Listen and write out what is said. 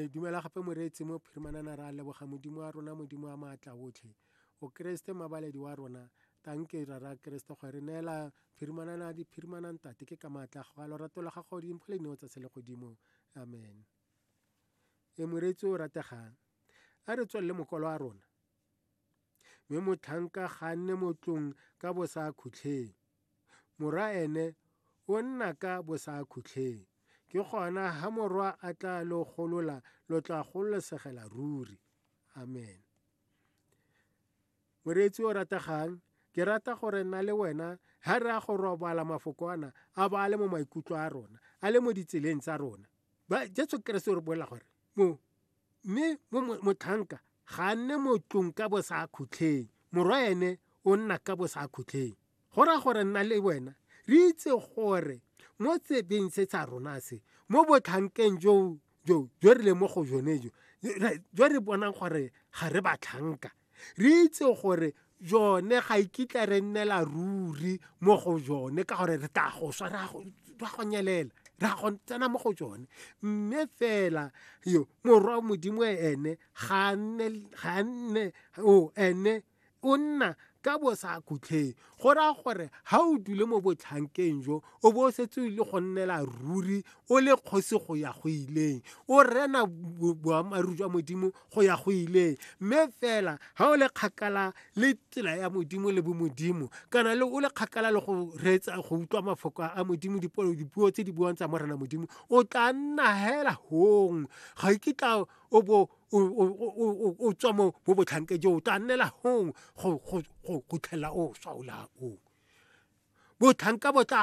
E dumela gape moreetsi mo phirimanana ra leboga Modimo wa rona, Modimo wa maatla otlhe. O Keresete mabaledi wa rona, tanke rara Keresete go re neela phirimanana diphirimanang tate ke ka maatla a lorato la gago dimpho le dineo tsa selegodimo. Amen. E moreetsi o rategang, a re tswelele mokwalo wa rona. Mme motlhanka ga a nne mo tlong ka bo sa khutlheng. Morwa ene o nna ka bo sa khutlheng. Ke gona ha morwa a tla lo golola lo tla gololesegela ruri. Amen. Moreetsi o rategang, ke rata gore nna le wena ha re a go robala mafoko ana a ba a le mo maikutlo a rona, a le mo ditseleng tsa rona. Ba Jesu Keresete o re bolela gore mo mme mo motlhanka ga a nne mo tlong ka bo sa khutlheng, morwa ene o nna ka bo sa khutlheng. Go raya gore nna le wena re itse gore mo tsebeng se sa rona se, mo botlhankeng jo jo jo re leng mo go jone jo, jo re bonang gore ga re batlhanka, re itse gore jone ga ikitla re nnela ruri mo go jone ka gore re tla go swa ra go nyelela ra go tsena mo go jone. Mme fela yo morwa Modimo ene ga nne o ene o nna ka bo sa khutlheng. Go raya gore ha o dule mo botlhankeng jo o bo o setse o ile go nnela ruri o le kgosi go ya go ileng, o rena boammaaruri jwa Modimo go ya go ileng. Mme fela ha o le kgakala le tsela ya Modimo le bomodimo, kana le o le kgakala le go reetsa go utlwa mafoko a Modimo, dipuo tse di buang tsa Morena Modimo, o tla nna hela hong, ga ikitla o bo o tswa mo botlhanke jo, o tla nnela hong go tlhela o swa o la o. Botlhanka bo tla